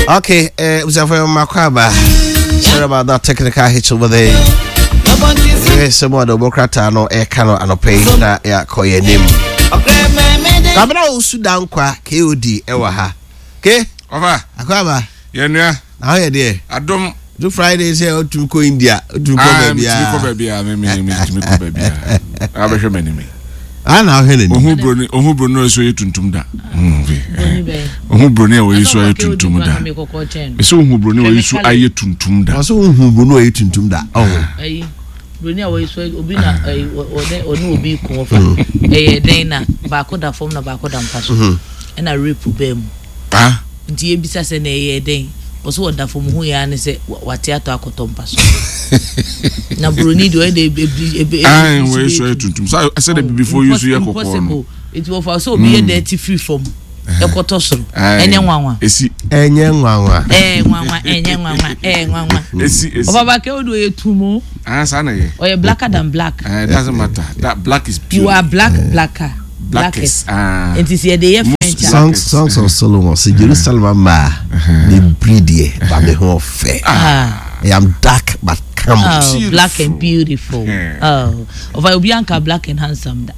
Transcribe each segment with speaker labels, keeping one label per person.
Speaker 1: Okay, abusuafo yɛ mma kɔ aba. Sorry about that technical hitch over there. Sɛ mu ɔde ɔbɔ krataa no ɛka no anɔpɛ yi na yɛakɔ yɛn anim. Kwabena Owusu Dankwa KOD ɛwɔ ha. Ke?
Speaker 2: Ɔfa.
Speaker 1: Akɔ aba.
Speaker 2: Yɛn nua.
Speaker 1: Na hɔ yɛ deɛ.
Speaker 2: Adom.
Speaker 1: Do Friday sɛ ɔtumi kɔ India, ɔtumi kɔ baabi a.
Speaker 2: Metumi kɔ baabi a, me me metumi kɔ baabi a. Abɛhwɛ m'anim.
Speaker 1: A na ɔhwɛ n'anim.
Speaker 2: Ohun broni, ohun broni a ɔyɛ tuntum da. Ohun broni a ɔyɛ so ayɛ tuntum da. Mese ohun broni a ɔyɛ so ayɛ tuntum da.
Speaker 1: Ɔsɛ ohun broni a ɔyɛ tuntum da. Ɔho.
Speaker 3: Broni a wɔyɛ so obi na ɔne ɔne obi ko ɔfa. Ɛyɛ dɛn na baako da fam na baako da mpa so. Ɛna rape baa mu. Nti yɛbisa sɛ na ɛyɛɛ dɛn? Ɔse ɔda fam hu yɛ ara ne sɛ wate atɔ akɔtɔ mpa so. Na buroni deɛ ɔyɛ dɛ ebi ebi
Speaker 2: ebi wɔyɛ so yɛ tuntum sɛ sɛ de bibifoɔ yi so yɛ kɔkɔɔ no.
Speaker 3: Nti wɔfa sɛ obi yɛ dɛ ti firi fam ɛkɔtɔ soro ɛnyɛ nwanwa.
Speaker 2: Esi.
Speaker 1: Ɛnyɛ nwanwa.
Speaker 3: Ɛɛ nwanwa ɛnyɛ nwanwa ɛɛ nwanwa.
Speaker 2: Esi esi.
Speaker 3: Ɔbaba kɛ o de ɔyɛ tumo.
Speaker 2: Ah saa na yɛ.
Speaker 3: Ɔyɛ blacker than black.
Speaker 2: Ɛɛ doesn't matter that black is beautiful.
Speaker 3: You are black blacker. Blackest.
Speaker 2: Ah.
Speaker 3: Nti sɛ yɛde yɛ French a.
Speaker 1: Songs Songs of Solomon sɛ Jerusalem ama ne biri deɛ ba me ho ɔfɛ. I am dark but come.
Speaker 3: Oh, black and beautiful. Oh, ɔfa obi anka black and handsome da.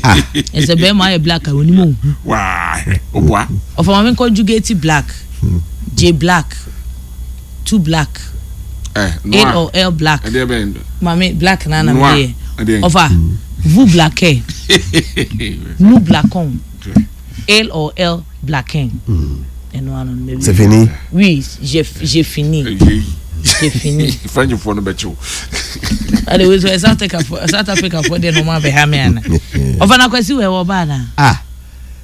Speaker 1: Ah.
Speaker 3: Ɛsɛ bɛrima ayɛ black a onim ohu.
Speaker 2: Waa, oboa.
Speaker 3: Ɔfa maame conjugate black. J black. Two black.
Speaker 2: Eh,
Speaker 3: A or L black.
Speaker 2: Ɛdeɛ bɛn.
Speaker 3: Maame black na na meyɛ. Ɔfa vous blackez. Nous blackons. L or L blacken. Ɛno ano no
Speaker 1: C'est fini.
Speaker 3: Oui, j'ai j'ai fini. J'ai fini.
Speaker 2: French fo no bɛkyew.
Speaker 3: Ade wei so South Africa fo South Africa fo de no ma bɛ ha me ana. Ɔfa na kwasi wɛ wɔ ba na.
Speaker 1: Ah.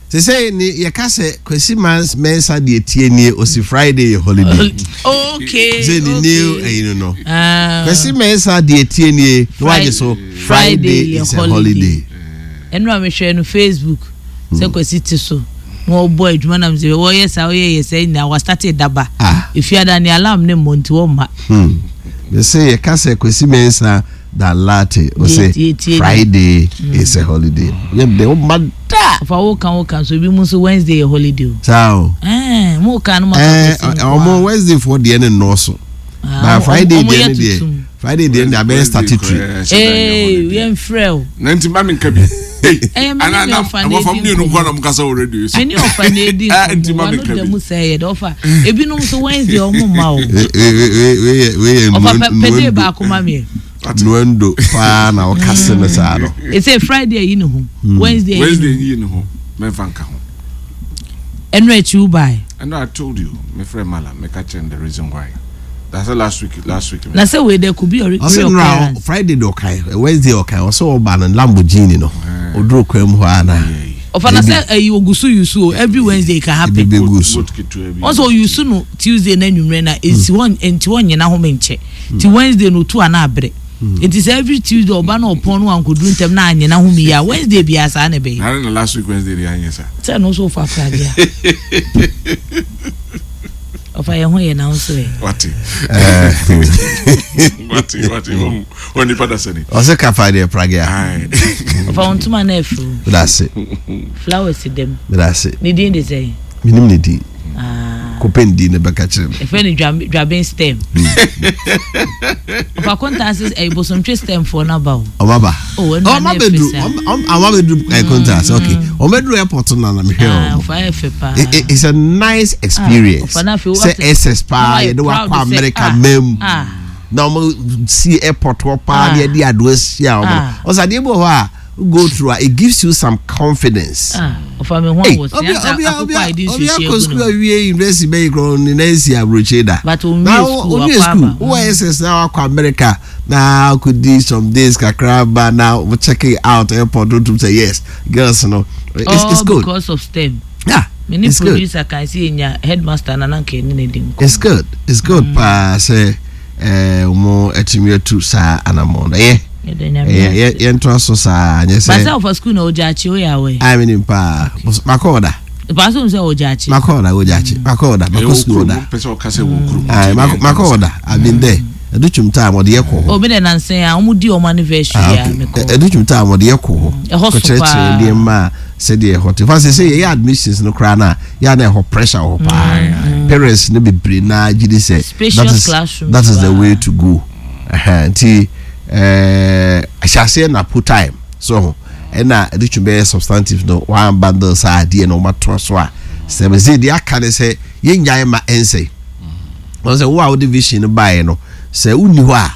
Speaker 1: Sesei ne yɛka sɛ Kwasi Mans Mensah deɛ tie nie osi Friday yɛ holiday.
Speaker 3: Okay.
Speaker 1: Sɛ ne new ɛyi no no.
Speaker 3: Ah.
Speaker 1: Kwasi Mensah deɛ tie nie na wagye so Friday is a holiday.
Speaker 3: Ɛnu a mehwɛ no Facebook sɛ Kwasi te so na ɔbɔ adwuma nam sɛ wɔyɛ saa ɔyɛ yɛ sɛ nyinaa wastate daba.
Speaker 1: Ah.
Speaker 3: Efiada ne alarm ne mmɔ nti wɔmma.
Speaker 1: Hmm. Mese yɛka sɛ Kwasi Mensah da latte ose Friday is a holiday. Yɛ de wo ma da.
Speaker 3: Ɔfa wo kan wo kan so ebi mu nso Wednesday yɛ holiday o.
Speaker 1: Saa o.
Speaker 3: Ɛɛ mo kan no ma ka kwesi nko.
Speaker 1: Ɔmo Wednesday foɔ deɛ ne nnɔɔso.
Speaker 3: Ah,
Speaker 1: Ba Friday deɛ ne deɛ Friday deɛ ne deɛ abɛyɛ statutory.
Speaker 3: Ee yɛn frɛ o.
Speaker 2: Na nti ma mi nka bi.
Speaker 3: Ɛyɛ mi ni ɔfa na edi nkɔmɔ.
Speaker 2: Wɔfa mmienu nkɔ na ɔmo kasa wɔ radio so.
Speaker 3: Mi ni ɔfa na edi nkɔmɔ wa no dɛm sɛ yɛ dɛ ɔfa ebinom nso Wednesday ɔmo ma o. Ɔfa pɛ pɛ de baako ma mi.
Speaker 1: Nuendo paa na ɔkase no saa no.
Speaker 3: Ese Friday ayi ne ho. Wednesday
Speaker 2: ayi ne ho. Mɛnfa nka ho.
Speaker 3: Ɛnu akyi wo bae.
Speaker 2: Ɛnu I told you me frɛ Mala me ka kyerɛ the reason why. That's the last week last week.
Speaker 3: Na sɛ wei dɛ could be a reoccurrence.
Speaker 1: Ɔsɛ Friday de ɔkae Wednesday ɔkae ɔsɛ ɔba no Lamborghini no oduro kwan mu hɔ ana.
Speaker 3: Ɔfa na sɛ ɛyi ogu so yusu o every Wednesday can happen.
Speaker 1: Ebi bɛ gu so.
Speaker 3: Ɔsɛ oyusu no Tuesday na enyimire na esi hɔ nti hɔ nyina home nkyɛ. Nti Wednesday no otu a na abrɛ. Nti sɛ every Tuesday ɔba na ɔpɔn no wankoduru ntɛm na anyɛ n'ahome yie a, Wednesday biara saa na ɛbɛyɛ.
Speaker 2: Na na last week Wednesday deɛ anyɛ saa.
Speaker 3: Sɛ ɛno nso wofa pragea. Ɔfa yɛn ho yɛ na nso ɛ.
Speaker 2: Wate. Wate wate wɔn wɔn nipa da sani.
Speaker 1: Ɔsɛ kafa deɛ pragea.
Speaker 3: Ɔfa wɔn ntoma na ɛfuru.
Speaker 1: Medase.
Speaker 3: Flowers dɛm.
Speaker 1: Medase.
Speaker 3: Ne din de sɛn?
Speaker 1: Menim ne din.
Speaker 3: Ah.
Speaker 1: Kɔpɛ ne din na bɛka kyerɛ me.
Speaker 3: Ɛfɛ no dwaben stem. Ɔfa kontaase ɛyɛ bosomtwe stem foɔ no aba o.
Speaker 1: Ɔmo aba.
Speaker 3: Oh, ɛnu
Speaker 1: Ɔmo
Speaker 3: ana
Speaker 1: abɛduru
Speaker 3: ɛfɛ saa.
Speaker 1: ɔmo abɛduru ɛɛ kontaase okay. Ɔmo abɛduru airport no na mehwɛ
Speaker 3: Ah,
Speaker 1: ɔmo.
Speaker 3: ɔfa yɛ fɛ paa.
Speaker 1: It's a nice experience.
Speaker 3: ɔfa na afei
Speaker 1: Sɛ
Speaker 3: wate-
Speaker 1: SS paa
Speaker 3: na wayɛ
Speaker 1: yɛde wakɔ
Speaker 3: proud sɛ,
Speaker 1: America
Speaker 3: ah,
Speaker 1: mam.
Speaker 3: ah.
Speaker 1: Na ɔmo si airport hɔ paa
Speaker 3: Ah.
Speaker 1: na yɛde adoa si a ɔmo.
Speaker 3: Ah.
Speaker 1: Ɔsɛ adeɛ bi wɔ hɔ a go through a it gives you some confidence.
Speaker 3: Ah, ɔfa mi ho
Speaker 1: Hey,
Speaker 3: awɔ si
Speaker 1: obi
Speaker 3: asa
Speaker 1: obi
Speaker 3: akokɔ
Speaker 1: obi
Speaker 3: a yɛde nsuo
Speaker 1: obi
Speaker 3: hyɛ
Speaker 1: akɔ
Speaker 3: egu
Speaker 1: sukuu
Speaker 3: no.
Speaker 1: awie university bɛyi korɔ ne nan si aburokye da.
Speaker 3: But onwie
Speaker 1: Na
Speaker 3: sukuu,
Speaker 1: onwie
Speaker 3: wakɔ
Speaker 1: sukuu
Speaker 3: aba.
Speaker 1: wowɔ SS na wakɔ America na akɔdi some days kakra ba na wo check it out airport wotum sɛ yes girls no it's,
Speaker 3: All
Speaker 1: it's good.
Speaker 3: because of STEM.
Speaker 1: Yeah,
Speaker 3: Me ne
Speaker 1: it's good.
Speaker 3: producer kan sɛ yɛnya headmaster na na nka yɛne no di nkɔmmɔ.
Speaker 1: It's good. It's good paa sɛ eh, wɔn atumi atu saa anamɔ no. Ɛyɛ.
Speaker 3: Yɛda Nyame
Speaker 1: Ɛyɛ
Speaker 3: ase.
Speaker 1: yɛ yɛntoa so saa nyɛ
Speaker 3: Ba sɛ
Speaker 1: sɛ.
Speaker 3: ɔfa school na ɔgya akyi woyɛ awɛ.
Speaker 1: Ayi mi nim paa. Makɔ ɔda.
Speaker 3: Paa sɛ sɛ ɔgya akyi.
Speaker 1: Makɔ ɔda ɔgya akyi. Makɔ ɔda makɔ school ɔda.
Speaker 2: Pɛ sɛ ɔka sɛ wɔ kurom.
Speaker 1: Ayi makɔ makɔ ɔda. I've been there. Ɛdu twum time ɔde yɛ kɔ hɔ.
Speaker 3: Obi dɛ nansa yi a wɔn di wɔn anniversary
Speaker 1: Ah,
Speaker 3: a
Speaker 1: okay.
Speaker 3: mekɔ.
Speaker 1: Ɛdu twum time ɔde yɛ kɔ hɔ.
Speaker 3: Ɛhɔ so
Speaker 1: Kɔkyerɛkyerɛ
Speaker 3: paa.
Speaker 1: nneɛma a. Sɛdeɛ ɛhɔ te fa sɛ sɛ yɛyɛ admissions no koraa no a, yɛ a na ɛhɔ pressure wɔ hɔ paa. Mm. Parents no bebree naa gye di sɛ that is that is the way to go. Nti ɛɛ ahyɛaseɛ na po time so ho ɛna ɛde twe bɛyɛ substantive no wɔn bundle saa adeɛ na wɔn atoa so a sɛ bɛsɛ deɛ aka ne sɛ yɛnyae ma ɛnsɛe. Wɔn sɛ wo a wode vision no baeɛ no sɛ wonni hɔ a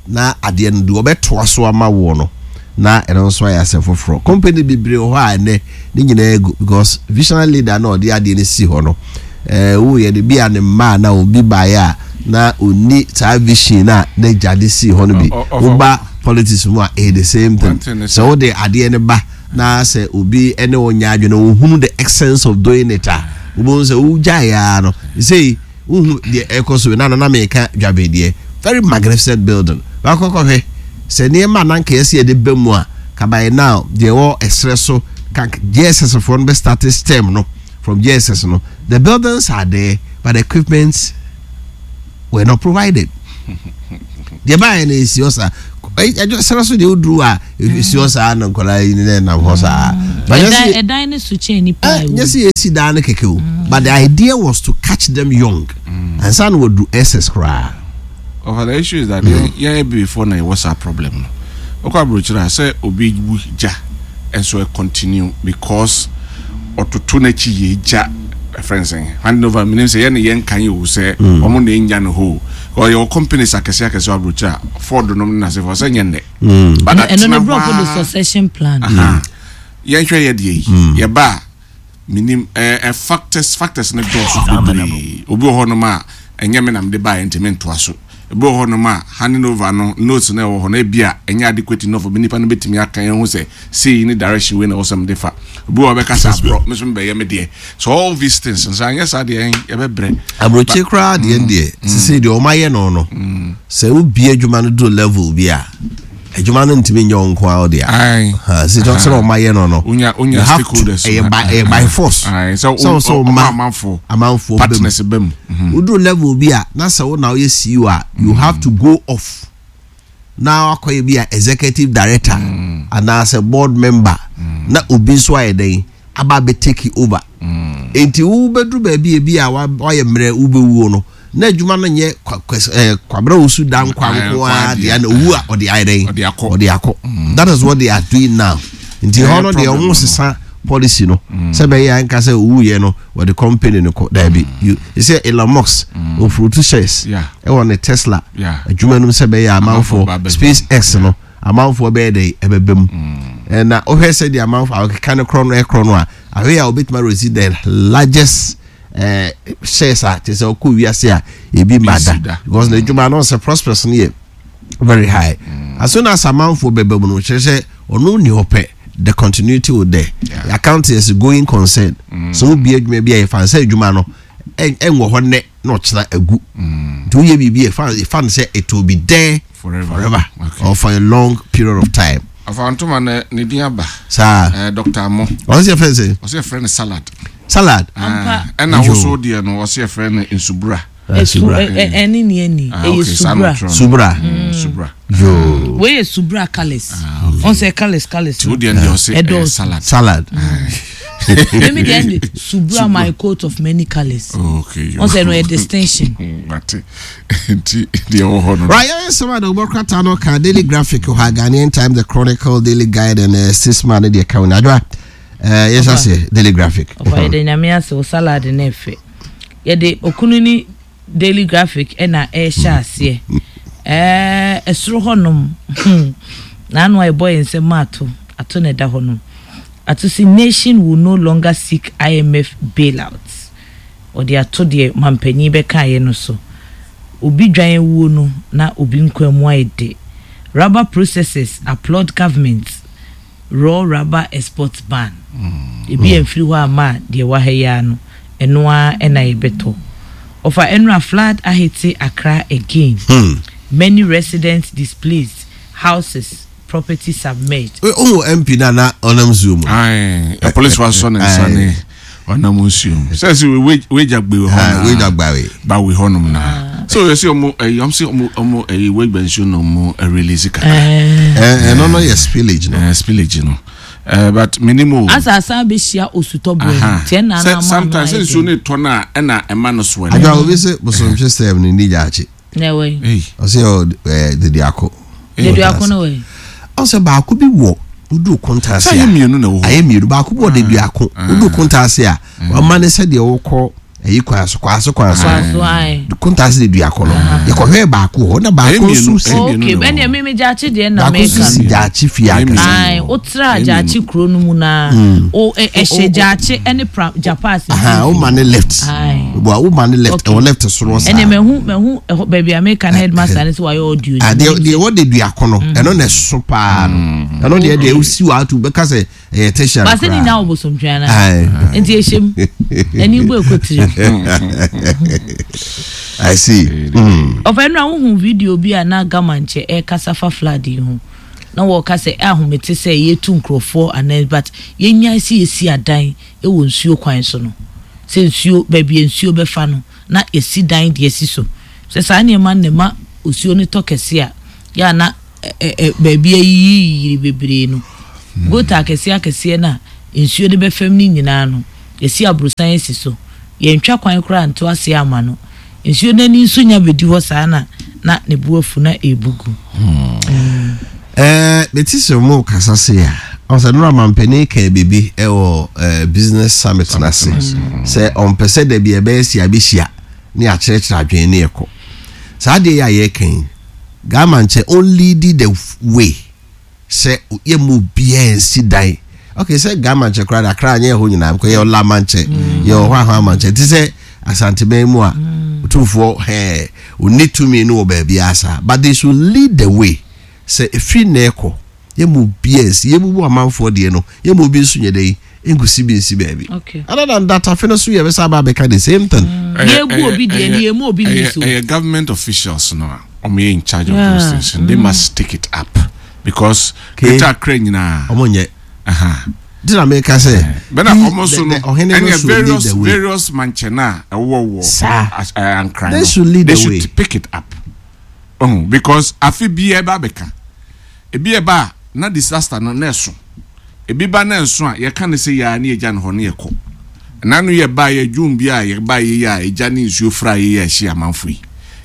Speaker 1: na adeɛ no deɛ ɔbɛtoa so ama woɔ no na ɛno nso ayɛ asɛm foforɔ. Company bebree wɔ hɔ a ɛnɛ ne nyinaa agu because visionary leader na ɔde adeɛ no si hɔ no ɛɛ woyɛ no bi a ne mma na obi baeɛ a na ɔnni saa vision na n'agya de si hɔ no bi. Woba politics mu a ɛyɛ the same thing. Sɛ wode adeɛ no ba na sɛ obi ne wo nyɛ adwene ohunu the essence of doing it a wobɛhu sɛ wogyaeɛ ara no sei Wohu deɛ ɛrekɔ so na na meka dwabe deɛ very magnificent building wakɔ kɔhwɛ sɛ nneɛma a na nka yɛsɛ yɛde ba mu a ka by now deɛ ɛwɔ ɛserɛ so ka JSS foɔ no bɛ start stem no from JSS no the buildings are there but the equipment were not provided deɛ baayɛ no ɛsi hɔ saa ɛdwo srɛ so deɛ woduru a ɛsi hɔ saa na nkwadaa yi ne nam hɔ saa
Speaker 3: ɛdan no so kyɛn nipa a
Speaker 1: ɛwɔ nyɛ sɛ yɛsi dan no kɛkɛ o but the idea was to catch them young ansa na wɔduru ss koraa.
Speaker 2: Ɔfa the issue is that yɛn yɛn before na yɛwɔ saa problem no wokɔ aburokyerɛ a sɛ obi wu gya nso ɛ continue because ɔtoto n'akyi yɛ gya ɛfrɛ no sɛn handing over menim sɛ yɛne yɛn kan o sɛ wɔn na enya no hɔ o ɔyɛ companies akɛse akɛse wɔ aburokyerɛ a Ford nom ne n'asefo sɛ nyɛ nnɛ
Speaker 3: but ɛno ne borɔfo de succession plan
Speaker 2: yɛnhwɛ yɛ deɛ yi yɛba a menim ɛɛ factors factors no dɔɔso bebree obi wɔ hɔnom a ɛnyɛ me na mede baeɛ nti mentoa so ebi wɔ hɔnom a handing over no notes no ɛwɔ hɔ no ebi a ɛnyɛ adequate enough obi nipa no betumi aka yɛn ho sɛ sei ne direction wei na ɛwɔ sɛ mede fa obi wɔ hɔ bɛka sɛ aborɔ me nso mebɛyɛ me deɛ so all these things nso anyɛ saa deɛ yɛbɛbrɛ.
Speaker 1: Aburokye koraa deɛ deɛ sisi deɛ wɔn ayɛ no no sɛ wobie adwuma no duru level bi a. Adwuma no ntumi nyɛ wo nko ara wo dea. Sɛ sɛ wɔn ayɛ no no.
Speaker 2: Onya onya stakeholders.
Speaker 1: Ɛyɛ by ɛyɛ by force.
Speaker 2: Sɛ wo sɛ ɔma amanfoɔ
Speaker 1: amanfoɔ
Speaker 2: partners bɛ mu.
Speaker 1: Mhm. Woduru level bi a na sɛ wo na woyɛ CEO a you have to go off na wakɔyɛ bi a executive director mm. anaasɛ board member mm. na obi nso ayɛ dɛn aba abɛ take over. Mm. Enti wobɛduru baabi ebi a wayɛ mmerɛ wobɛwuo no na adwuma no nyɛ kwabena osu da nkwa nko ara deɛ na owu a ɔde ayɛ dɛn ɔde akɔ mm. that is what they are doing now nti hɔ no deɛ wɔn sesa policy no mm. sɛ bɛyɛ anka sɛ owu yɛ no wɔde company no kɔ daabi mm. you sɛ Elon Musk ofurutu shares ɛwɔ ne Tesla adwuma no mu sɛ bɛyɛ amanfoɔ Space X no amanfoɔ bɛyɛ dɛ ɛbɛbɛ mu na wohwɛ sɛ deɛ amanfoɔ akeka no korɔ no ɛkorɔ no a ahwɛ a obetuma resi the largest eh, shares a kyerɛ sɛ ɔkɔ wiase a ebi ma da because n'adwuma no sɛ prospects no yɛ very high mm. as soon as amanfoɔ bɛba mu no kyerɛ sɛ ɔno ni hɔ pɛ the continuity will there yeah. the account is a going concern mm. so wobi adwuma bi a yɛfa sɛ adwuma no ɛnwɔ hɔ nnɛ na ɔkyena agu mm. nti woyɛ biribi yɛfa yɛfa no sɛ it will be there forever, forever. Okay. or for a long period of time.
Speaker 2: Afantoma ne ne din aba.
Speaker 1: Saa.
Speaker 2: Eh, Dr. Amo.
Speaker 1: Ɔsɛ yɛ fɛn sɛ.
Speaker 2: Ɔsɛ yɛ fɛn no salad.
Speaker 1: Salad.
Speaker 3: Ampa.
Speaker 2: Ɛna woso deɛ no ɔsɛ yɛ fɛn no nsubura.
Speaker 3: Subura. Ɛne ni ɛni. Ɛyɛ subura.
Speaker 1: Subura.
Speaker 2: Subura.
Speaker 1: Yoo.
Speaker 3: Wei yɛ subura colours. Ɔn sɛ colours colours.
Speaker 2: Ti o deɛ deɛ ɔsɛ ɛyɛ salad.
Speaker 1: Salad.
Speaker 3: Emi deɛ ɛnde subura my coat of many colours.
Speaker 2: Okay.
Speaker 3: Ɔn sɛ no yɛ distinction.
Speaker 2: Mate. Nti deɛ ɛwɔ hɔ no.
Speaker 1: Right, yɛn nsɛm a na wɔbɔ krataa no ka Daily Graphic hɔ a Ghanaian Times, The Chronicle, Daily Guide and uh, Statesman ne deɛ ka ho na adwa. Eh, yɛhyɛ aseɛ Daily Graphic.
Speaker 3: Ɔfa yɛde nyame ase wo salad no ɛfɛ. Yɛde okunu ne Daily Graphic ɛna ɛhyɛ aseɛ. Ɛɛ ɛsoro hɔnom n'ano a ɛbɔ yɛn nsɛm ato ato na ɛda hɔnom. Ato si nation will no longer seek IMF bailout. Ɔde ato deɛ mampanyin bɛkaeɛ no so. Obi dwan awuo no na obi nkwa mu ayɛ dɛ. Rubber processors applaud government raw rubber export ban. Ebi amfiri hɔ amma a deɛ ɛwɔ ha yi ara no, ɛno ara na yɛbɛtɔ. Ɔfa ɛnora flood ahete Accra again. Many residents displaced, houses, property submerged.
Speaker 1: Wohu MP no a na ɔnam nsuo mu?
Speaker 2: Ae, apolisifoɔ asɔ ne nsa ne ɔnam nsuo mu. Sɛ sɛ wagya gbe hɔ na.
Speaker 1: Wagya gbawe.
Speaker 2: Bawe hɔ nom na. So yɛ sɛ ɔmo ɛyi ɔmo sɛ ɔmo ɔmo ɛyi wagya nsuo na ɔmo release kakra.
Speaker 1: Ɛno no yɛ spillage no.
Speaker 2: Spillage no. Eh, but menim o.
Speaker 3: Asa asan bɛhyia osutɔ berɛ no nti ɛna na ama ano
Speaker 2: sometimes
Speaker 3: ayɛ
Speaker 2: nsuo
Speaker 3: den.
Speaker 2: no tɔ no a ɛna ɛma no soɛ no.
Speaker 1: Adwa obi se bosomtwe sɛm no ni gyaakye.
Speaker 3: Na ɛwɔ yi.
Speaker 1: Ɔsɛ yɛ ɛɛ deduako.
Speaker 3: Deduako no wɔ yi.
Speaker 1: Ɔsɛ baako bi wɔ wodu kontaase a.
Speaker 2: Sɛ ayɛ mmienu na ɛwɔ hɔ.
Speaker 1: Ayɛ mmienu baako bi wɔ deduako wodu kontaase a wama ne sɛ deɛ wokɔ ɛyi kwan so kwan so kwan so kontaase de duako no yɛkɔhwɛ baako hɔ na baako nso si
Speaker 3: ok ɛnna mímí gyaakye deɛ na
Speaker 1: baako nso si gyaakye fie ankasa
Speaker 3: ayi wotra gyaakye kuro no mu na o ɛhyɛ gyaakye ɛne pra japaas
Speaker 1: o ma ne left wa o ma ne left ɛwɔ left soro saa
Speaker 3: ɛnna mɛhu mɛhu ɛhɔ baabi a meka na headmaster ne sɛ wayɛ audio
Speaker 1: deɛ deɛ wɔ de duako no ɛno na ɛso paa no ɛno deɛ deɛ osi wa ato bɛka sɛ ɛyɛ tertiary
Speaker 3: koraa. Baase ni nya wɔ bosomtwe ana. Nti ehyem. Ɛni bu ekɔ tiri.
Speaker 1: I see.
Speaker 3: Ɔfɛ nura wohu video bi a na Gama nkyɛ ɛkasa fa flood yi ho. Na wɔka sɛ ahomete sɛ yɛtu nkurɔfoɔ anaa but yɛnyae sɛ yɛsi adan wɔ nsuo kwan so no. Sɛ nsuo baabi a nsuo bɛfa no na yɛsi dan de asi so. Sɛ saa nneɛma no na ɛma osuo no tɔ kɛse a yɛ a na baabi ayiyiyiri bebree no, gota akɛseɛ akɛseɛ no a nsuo no bɛfam no nyinaa no, yɛasi aborosan asi so. Yɛntwa kwan koraa nto aseɛ amma no. Nsuo no ani nso nya bɛdi hɔ saa na na ne bo afu na ɛrebu gu.
Speaker 1: Eh, mete sɛ ɔmo kasa se a, ɔsɛ nora mampanin kaa biribi ɛwɔ eh, business summit no ase sɛ ɔmpɛ sɛ da bi ɛbɛyɛ si abɛhyia ne akyerɛkyerɛ adwene ne ɛkɔ saa adeɛ yi a yɛreka yi Ghana nkyɛ ɔnleadi the way sɛ yɛmma obiara nsi dan okay sɛ Ghana nkyɛ koraa de Accra nyɛ ɛhɔ nyinaa because yɛwɔ Lama nkyɛ mm. yɛwɔ hɔ ahɔ ama nkyɛ te sɛ Asanteman mu a mm. otumfoɔ hɛɛ ɔnni tumi no wɔ baabi asa but they should lead the way sɛ ɛfiri na ɛkɔ yɛmma obiara nsi yɛbubu amanfoɔ deɛ no yɛmma obi nso nyɛ dɛ yi nkusi bi nsi baabi other than that afe no so yɛbɛsa aba abɛka the same thing.
Speaker 3: Yɛgu obi deɛ ni yɛmu obi ni so.
Speaker 2: Ɛyɛ government officials no a wɔn yɛ in charge of those things and they must take it up because Greater Accra nyinaa.
Speaker 1: Wɔn nyɛ. Di na meka sɛ.
Speaker 2: Bɛna wɔn so no ɛnna various various mankyɛn a ɛwɔ wɔ Ankran no
Speaker 1: they should lead
Speaker 2: they
Speaker 1: the way.
Speaker 2: should pick it up. Oh, because afe bi ɛba abɛka ebi ɛba a na disaster no na ɛso. Ebi ba na ɛnso a, yɛka no sɛ yɛ ara ne yɛgya no hɔ na yɛkɔ. Ɛna no yɛbaeɛ, June bi a yɛbaeɛ yi a egya ne nsuo fraeɛ yi a ɛhyee amanfo yi,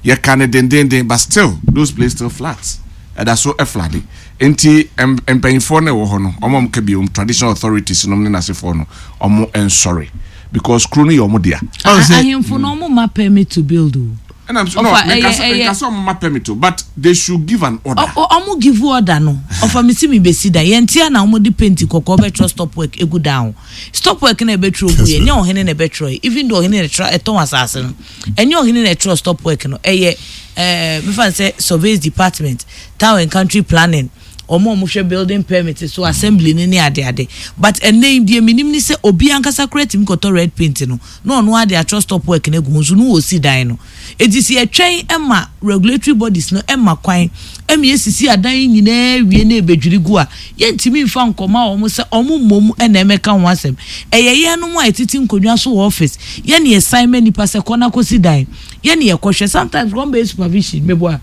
Speaker 2: yɛka no dendeenden but still those place still floods. Ɛda so floode. Nti mpanyinfoɔ no a ɛwɔ hɔ no, wɔn a wɔka bi, wɔn traditional authorities nom ne n'asefoɔ no, wɔn nsɔre because kuro no yɛ wɔn dea.
Speaker 3: Ahemfo no wɔn mma permit to build o.
Speaker 2: Ɛna nso no menka sɛ menka sɛ ɔmo ma permit o but they should give an order.
Speaker 3: Ɔmo give order no ɔfa me si me besi dan yɛn ti a na ɔmo de paint kɔkɔɔ bɛtwerɛ stop work egu dan ho stop work na ɛbɛtwerɛ gu yɛ nyɛ ɔhene na ɛbɛtwerɛ yɛ even though ɔhene na ɛtwerɛ ɛtɔn asaase no ɛnyɛ ɔhene na ɛtwerɛ stop work no ɛyɛ ɛɛ mefa sɛ surveys department town and country planning wɔn a wɔhwɛ building permit so assembly no ne ade ade but ɛnɛ yi deɛ menim ne sɛ obi ankasa koraa tumi kɔtɔ red paint no na ɔno ara de atwerɛ stop work no agu ho nso na ɔresi dan no. Enti sɛ yɛtwɛn ma regulatory bodies no ma kwan ma yɛsisi adan yi nyinaa wie na ɛbɛdwiri gu a, yɛntumi mfa nkɔma wɔn sɛ wɔn mmom na ɛmmɛka ho asɛm. Ɛyɛ yɛnom a yɛtete nkonnwa so wɔ office, yɛn na yɛsan ma nnipa sɛ kɔ na kɔsi dan, yɛn na yɛkɔhwɛ. Sometimes wɔn bɛyɛ supervision, meboa.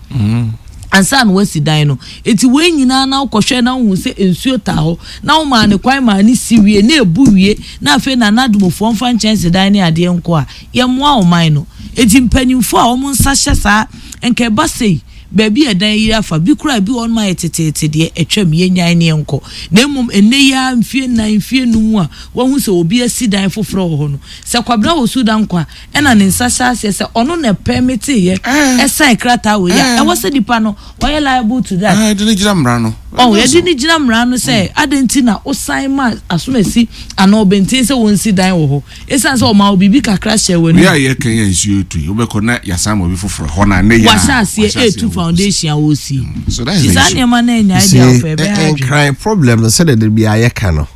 Speaker 3: Ansa na wasi dan no. Enti wei nyinaa na wokɔhwɛ na wohu sɛ nsuo taa hɔ, na womaa no kwan maa no si wie, na ɛbu wie, na afei Nana Adomofoɔ mfa nkyɛnsedan ne adeɛ nkɔ a, yɛmmoa ɔman no. Enti mpanimfoɔ a wɔn nsa hyɛ saa, nka ɛba sei, baabi a ɛdan ayiri afa, bi koraa ebi wɔ hɔnom ayɛ teteete deɛ, atwam, yɛnnyae ne yɛnkɔ. Na mmom ɛnnɛ yi ara, mfeɛ nnan, mfeɛ nnum a wɔahu sɛ obi asi dan foforɔ wɔ hɔ no, sɛ Kwabena Osu Dankwa ɛna ne nsa hyɛ aseɛ sɛ ɔno na ɛpɛmiteeɛ ɛsan krataa wei a, ɛwɔ sɛ nipa no ɔyɛ liable to that.
Speaker 2: Yɛde no gyina mmara no.
Speaker 3: Ɔho, yɛde no gyina mmara no sɛ adɛn nti na wosan ma asomasi anaa ɔbɛnten sɛ wɔnsi dan wɔ hɔ ɛsiane sɛ ɔmaa wo biribi kakra hyɛɛ w'anum.
Speaker 2: Wei a yɛka yi a nsuo retu yi, wobɛkɔ na yɛasan ma obi foforɔ hɔ no a nnɛ yi ara
Speaker 3: Wahyɛ aseɛ
Speaker 2: wahyɛ aseɛ
Speaker 3: ɛretu
Speaker 2: wɔkɔsi.
Speaker 3: foundation a wɔresie.
Speaker 2: So that is
Speaker 3: Nti
Speaker 2: the
Speaker 3: saa
Speaker 2: issue.
Speaker 3: nneɛma no anyae
Speaker 1: You see,
Speaker 3: deɛ a ɔpɛ ɛbɛha adwene.
Speaker 1: Nkran problem no sɛdeɛ da biara yɛka no,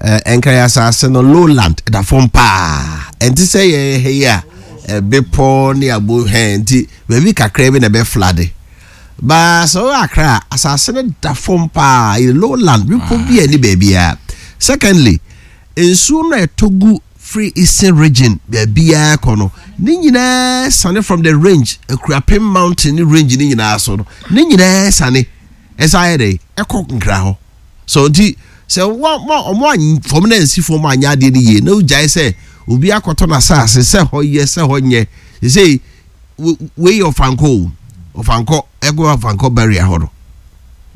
Speaker 1: Nkran asase no lowland ɛda fam paa ɛnte sɛ yɛn ha yi a bepɔ ne abo hɛn nti baabi kakra bi na ɛbɛ flade baa sɛ ɔyɛ akra a asase no da fam paa yɛ lowland bepɔ bi a ɛne baabiara secondly nsuo no a ɛtɔ gu firi eastern region baabiara kɔ no ne nyinaa sane from the range Akuapem mountain ne range ne nyinaa so no ne nyinaa sane ɛsan yɛ dɛ ɛkɔ nkra hɔ so nti. Sɛ wɔn wɔn fam na nsi fam anyɛ adeɛ no yie na wogyae sɛ obi akɔtɔ n'asase sɛ hɔ yɛ sɛ hɔ nyɛ sɛ wei yɛ ɔfankɔ o ɔfankɔ ɛkɔ ɔfankɔ barrier hɔ no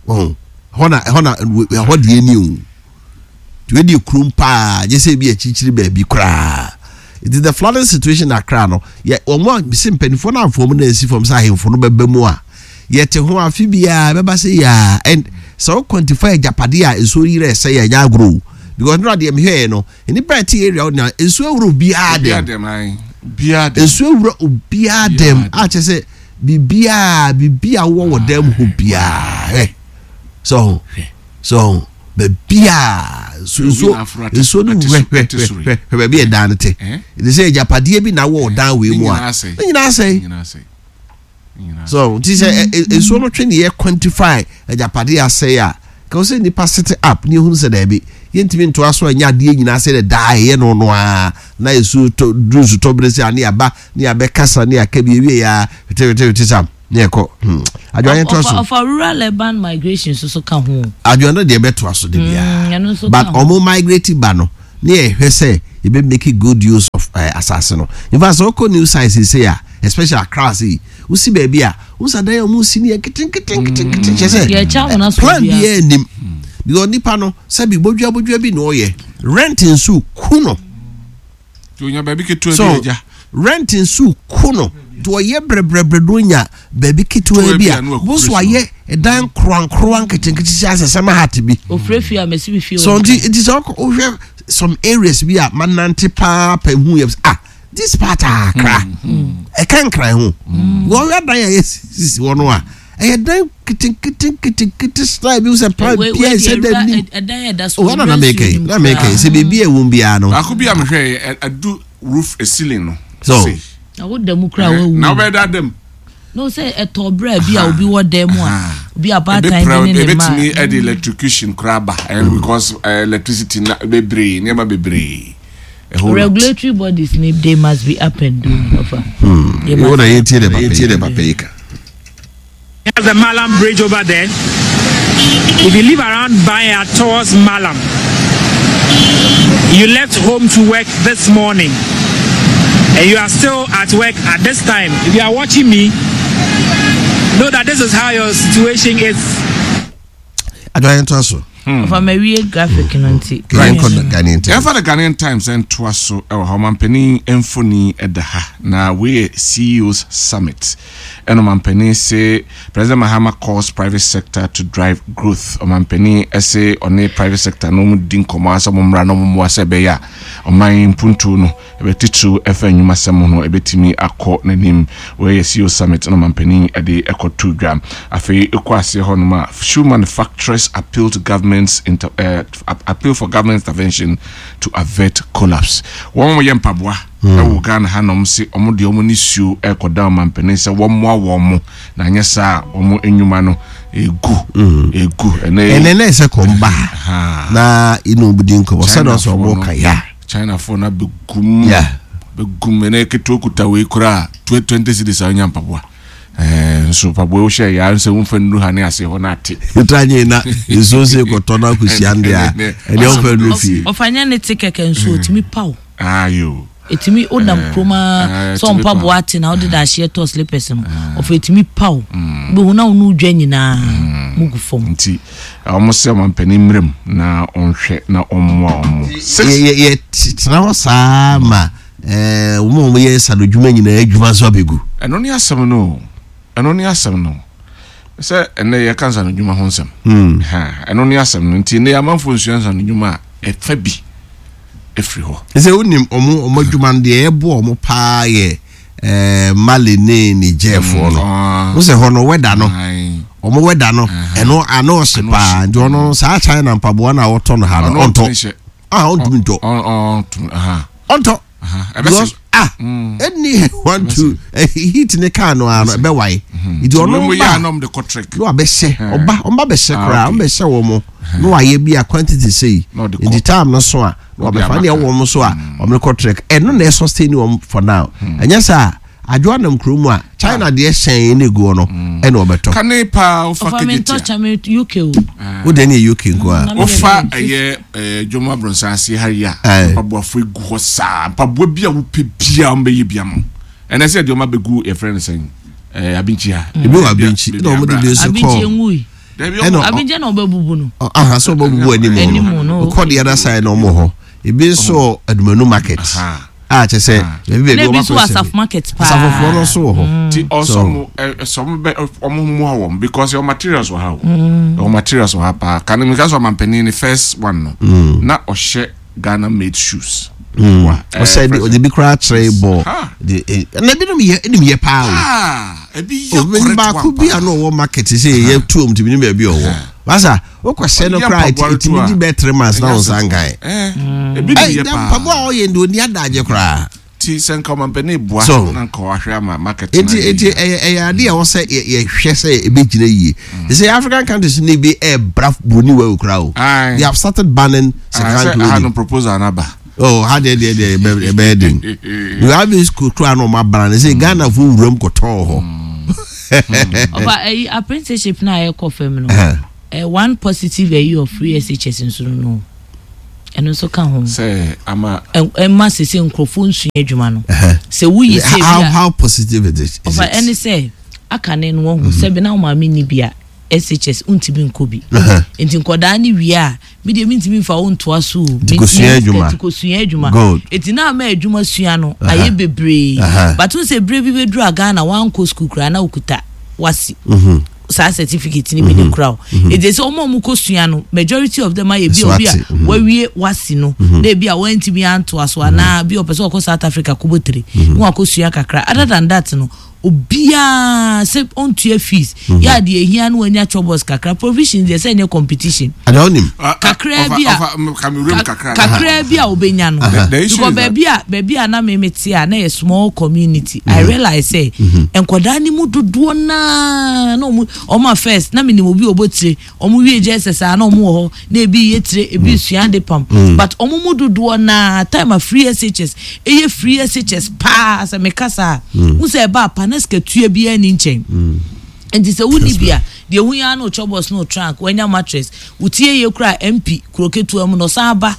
Speaker 1: wɔn hɔ na ɛhɔ na ɛhɔ deɛ ni o wei deɛ kurom paa gye sɛ ebi akyirikyiri baabi koraa it is the flooding situation Accra no yɛ wɔn a bisi mpanimfoɔ no afɔm na esi fam sɛ ahemfo no bɛba mu a yɛte ho afe biara bɛba sɛ yaa and sɛ wo quantify agyapadeɛ a nsuo yerɛ sɛ yɛ nyɛ agorɔ o because nora deɛ mehwɛɛ no nnipa ɛte area hɔ na nsuo awura obiara dɛm nsuo awura obiara dɛm a kyerɛ sɛ biribiara biribi a wowɔ wɔ dɛm hɔ biara hwɛ so so baabiara nsuo nsuo no hwɛ hwɛ hwɛ hwɛ baabi a ɛdan no te ɛde sɛ agyapadeɛ bi na wɔ ɔdan wei mu a ne nyinaa asɛe. So nti sɛ nsuo no twe ne yɛ quantify agyapadeɛ asɛe a, ka wo sɛ nipa sit up ne ehunu sɛ daabi yɛntumi ntoa so ɛnyɛ adeɛ nyinaa sɛ dɛ daa ɛyɛ no no ara na nsuo tɔ duru nsutɔ bere sɛ ane aba ne abɛkasa ne aka bi ewie ya wete wete wete sam ne ɛkɔ hmm adwoa yɛn toa so.
Speaker 3: Ɔfa rural urban migration nso so ka ho.
Speaker 1: Adwoa no deɛ ɛbɛtoa so de biara but ɔmo migrate ba no ne yɛhwɛ sɛ yɛbɛ make good use of uh, asase no in fact sɛ ɔkɔ new site sese a especially Accra ase yi wosi baabi a wosa dan a wɔn si no yɛ nketenketenketenkete kyɛ sɛ plan biara nim because nipa no sɛbi bodua bodua bi na ɔyɛ rent nso ku no so rent nso ku no nti ɔyɛ brɛbrɛbrɛ do nya baabi ketewa bi a boso ayɛ ɛdan nkorankora nketenkete sɛ asɛ sɛ mahat bi so nti nti sɛ ɔhwɛ some areas bi a manante paa pɛ hu yɛ ah this part a akra ɛka nkran ho wɔn dan a yɛsisi hɔ no a ɛyɛ dan ketenkete nketenkete style bi sɛ pan bia ɛsɛ dɛ nim o ɛna na mɛka yi na mɛka yi sɛ biribi a ɛwɔ biara no.
Speaker 2: Baako bi a mehwɛ yɛ ɛdu roof ceiling no.
Speaker 1: So.
Speaker 3: Na wo da mu kura wawu.
Speaker 2: Na wobɛyɛ da dam.
Speaker 3: No sɛ ɛtɔ berɛ bi a obi wɔ dan mu a obi abaatan bi ne ne mma.
Speaker 2: Ebetumi ɛde electrocution koraa ba because electricity na bebree nneɛma bebree.
Speaker 3: A whole Regulatory lot. bodies ni they must be up and doing. Ofa.
Speaker 1: Hmm. They must be up and doing.
Speaker 4: There's the Malam Bridge over there. If you live around Baya towards Malam, you left home to work this morning and you are still at work at this time. If you are watching me, know that this is how your situation is.
Speaker 1: Adwa yɛn to so.
Speaker 3: Ɔfa ma wie graphic no nti.
Speaker 1: Yɛn kɔ Ghanaian Times.
Speaker 2: Yɛnfa the Ghanaian Times ntoa so wɔ ha. Ɔmanpanin mfoni da ha na wei yɛ CEOs Summit. Ɛna ɔmanpanin se President Mahama calls private sector to drive growth. Ɔmanpanin se ɔne private sector no wɔn di nkɔmɔ asɛ wɔn mmra na wɔn mmoa sɛ ɛbɛyɛ a ɔman mpuntuo no Ɛbɛ titiriw ɛfa nnwumasɛm ho no ɛbɛtumi akɔ n'anim. Wei yɛ CEO Summit na ɔmanpanin de ɛkɔ too dwa. Afei ɛkɔ aseɛ hɔ nom a, Shoe manufacturers appeal to government's inter eh, appeal for government intervention to avert collapse. Wɔn a wɔyɛ mpaboa ɛwɔ Ghana ha nom se wɔn deɛ wɔn nisuo ɛrekɔda ɔmanpanin sɛ wɔmmoa wɔn mo na anyɛ saa a wɔn nnwuma no ɛgu ɛgu. Ɛnɛ
Speaker 1: Ɛnɛ na ɛsɛ kɔm ba ha na ɛna ɔmo di nkɔmɔ sɛdeɛ ɔsɛ ɔmo ka ya.
Speaker 2: China foɔ no abɛgum abɛgum ɛnɛ ketewa kuta wei koraa 20 cedis a wonya mpaboa ɛɛ nso mpaboa wohyɛ yɛ ansɛ womfa nnuru ha ne ase hɔ no ate
Speaker 1: ɛtra nye na nsuo sɛ kɔtɔ no akɔhyia no deɛ a ɛdeɛ womfa nnuru fie
Speaker 3: ɔfa nyɛ ne te kɛkɛ nso ɔtumi paw
Speaker 2: ayo
Speaker 3: ɛtumi wonam kurom a sɛ mpaboa ate na wode dahyeɛ tɔ slippers no ɔfa ɛtumi paw wobɛhu na wo ne wodwa nyinaa mugu fam
Speaker 2: nti Wɔn sɛ ɔmampanin mmra mu na ɔnhwɛ na ɔmmoa wɔn.
Speaker 1: Yɛ tena hɔ saa ma wɔn a wɔyɛ nsanodwuma nyinaa adwuma nso abɛgu.
Speaker 2: Ɛno ne asɛm no o. Ɛno ne asɛm no. Sɛ ɛnɛ yɛka nsanodwuma ho nsɛm. Ɛno ne asɛm no. Nti nnɛ amanfoɔ nsua nsanodwuma a ɛfa bi ɛfiri hɔ.
Speaker 1: Sɛ wonim wɔn wɔn adwuma no deɛ ɛboa wɔn paa yɛ eh, Mali ne Nigerfoɔ no mm, wo sɛ hɔ no wɛda no ɔmo wɛda no ɛno ano ɔhye paa nti ɔno saa China mpaboa no a wɔtɔ no ha no ɔntɔ ah ɔntumi ntɔ ɔntɔ because ah ɛni one two eh, heat ne kaa no ano ɛbɛwae mm-hmm. nti ɔno ba na wabɛhyɛ ɔba ɔba bɛhyɛ ah, koraa ɔbɛhyɛ wɔn mo na wayɛ bi a quantity sei nti time no so a na wabɛfa ne ɛwɔ wɔn so a mm. wɔn kɔ trek ɛno na ɛsustain wɔn for now mm. ɛnyɛ saa Adwoa nam kuro mu a, China deɛ hyɛn na egu hɔ no ɛna ɔbɛtɔ.
Speaker 2: Kane paa wofa
Speaker 3: Ɔfa me ntɔ
Speaker 2: Kejetia.
Speaker 3: kyɛ me UK o.
Speaker 1: Wo deɛ ne yɛ UK nko a.
Speaker 3: Na me
Speaker 2: Wofa
Speaker 3: deɛ
Speaker 2: ɛyɛ ɛɛ dwom abrɔnsan ase ha yi a,
Speaker 1: Aye.
Speaker 2: mpaboafo egu hɔ saa. Mpaboa bi a wopɛ biara wɔn bɛyɛ bi ama wo. Ɛnɛ sɛ deɛ wɔn abɛgu yɛfrɛ no sɛn ɛɛ Abinkyi ha.
Speaker 1: Ebi wɔ Abinkyi na wɔn de bi nso
Speaker 3: Abinkyi
Speaker 1: kɔ.
Speaker 3: enwui.
Speaker 2: Dabi
Speaker 1: Ɛna
Speaker 2: ɔmo
Speaker 3: Abinkyi na ɔbɛbubu no.
Speaker 1: Aha sɛ ɔbɛbubu anim
Speaker 3: Anim
Speaker 1: no.
Speaker 3: no,
Speaker 1: Wokɔ the other side na wɔn wɔ hɔ. Ebi nso wɔ Adumanu market.
Speaker 2: Aha.
Speaker 1: A kyɛ sɛ baabi baabi
Speaker 3: Na ebi
Speaker 1: wɔn
Speaker 3: nso
Speaker 1: akɔ
Speaker 3: wɔ
Speaker 1: sɛ.
Speaker 3: Asafo market paa.
Speaker 1: Asafofoɔ no nso wɔ hɔ.
Speaker 2: Ti ɔsɔ
Speaker 1: So-
Speaker 2: mo ɛ sɛ ɔmo bɛ ɔmo mmoa wɔn because ɛwɔ materials wɔ ha o. Ɛwɔ materials wɔ ha paa. Kane mi ka sɛ ɔmampanin ne first one no na ɔhyɛ Ghana made shoes. Wa,
Speaker 1: Ɔsɛ de ɔde bi koraa kyerɛ bɔ.
Speaker 2: Ha.
Speaker 1: De na ebinom yɛ enim yɛ paa o.
Speaker 2: Ah, ebi yɛ
Speaker 1: Obi
Speaker 2: correct
Speaker 1: baako
Speaker 2: one
Speaker 1: bi
Speaker 2: paa.
Speaker 1: a na ɔwɔ market sɛ yɛ tuom tìmi ne baabi ɔwɔ. Basa wokɔhyɛ no
Speaker 2: Ɔyɛ
Speaker 1: koraa
Speaker 2: mpaboa no
Speaker 1: ɛtumi
Speaker 2: to a,
Speaker 1: di bɛɛ 3 months na
Speaker 2: ɛnyɛ
Speaker 1: wo nsa
Speaker 2: asɛm.
Speaker 1: nkan.
Speaker 2: Ebi de
Speaker 1: Ɛy
Speaker 2: yɛ
Speaker 1: na
Speaker 2: paa.
Speaker 1: mpaboa a ɔyɛ ndi oni adagye koraa.
Speaker 2: Ti sɛ nka ɔmampanin boa
Speaker 1: So-
Speaker 2: na nka wahwɛ ama market
Speaker 1: Eti
Speaker 2: no ayɛ
Speaker 1: eti
Speaker 2: yie.
Speaker 1: ɛyɛ ade a wɔsɛ yɛhwɛ sɛ ebɛgyina yie. Sɛ African countries ne bi ɛɛbra broni wɔ okura o.
Speaker 2: Aye.
Speaker 1: They have started banning
Speaker 2: Ah,
Speaker 1: second
Speaker 2: sɛ aha no
Speaker 1: clothing.
Speaker 2: proposal no aba.
Speaker 1: Oh, ha deɛ ɛbɛyɛ den. You have this kura na ɔmo abara ne sɛ Ghana fo wuram kɔtɔɔ hɔ.
Speaker 3: Ɔfa ɛyi apprenticeship na ayɛ fam no. One positive ɛyi of free SHS nso no. Ɛno nso ka ho.
Speaker 2: Sɛ ama
Speaker 3: Ɛma sese nkurɔfoɔ nsua adwuma no. Sɛ woyi sɛ
Speaker 1: How
Speaker 3: bi a
Speaker 1: how positive it is? Is
Speaker 3: ɔfa ɛne
Speaker 1: it?
Speaker 3: sɛ aka ne no wɔn ho sɛbi na wɔn maame ni bi a SHS ntumi nkɔ bi. Nti nkɔdaa ne wie a mi deɛ mi ntumi nfa wo ntoa so o.
Speaker 1: Nti kosua adwuma.
Speaker 3: Nti kosua adwuma.
Speaker 1: Good.
Speaker 3: Eti na ama adwuma sua no ayɛ bebree. But n sɛ bere bi bɛduru a Ghana wankɔ school koraa na okuta WASSCE. Saa certificate ni bi ne kura o. Eti sɛ ɔmo a ɔmo kɔ sua no, majority of them ayɛ bi a obi a
Speaker 1: So ate,
Speaker 3: wawie WASSCE no na ebi a wantumi antoa so anaa bi a ɔpɛ sɛ ɔkɔ South Africa kɔbɔ tire na wakɔ sua kakra. Other than that no, obiara sɛ ɔntua fees yɛ adeɛ ehia no wanya chobos kakra, provisions deɛ sɛ ɛnyɛ competition.
Speaker 1: Ada onim.
Speaker 2: Ah, ah,
Speaker 3: Kakra
Speaker 2: ɔfa-
Speaker 3: bi a
Speaker 2: ɔfa, ka me wuram kakra.
Speaker 3: Kakra bi a obenya no.
Speaker 2: The issue
Speaker 3: Because
Speaker 2: is that-
Speaker 3: baabi a na me te a na yɛ small community, I realize sɛ nkwadaa ne mu dodoɔ naa na ɔmo a first na menim obi a ɔbɔ tire, ɔmo wie JSS a na ɔmo wɔ hɔ na ebi yɛ tire, ebi sua ade pam, but ɔmo mu dodoɔ naa time a free SHS ɛyɛ free SHS paa sɛ meka saa n sɛ ɛba apa na sika tua biara ni nkyɛn. Nti sɛ wonni bi a deɛ hu ya no chobos no trunk wanya mattress wotie yɛ kura MP kuro ketewa mu na ɔsan ba.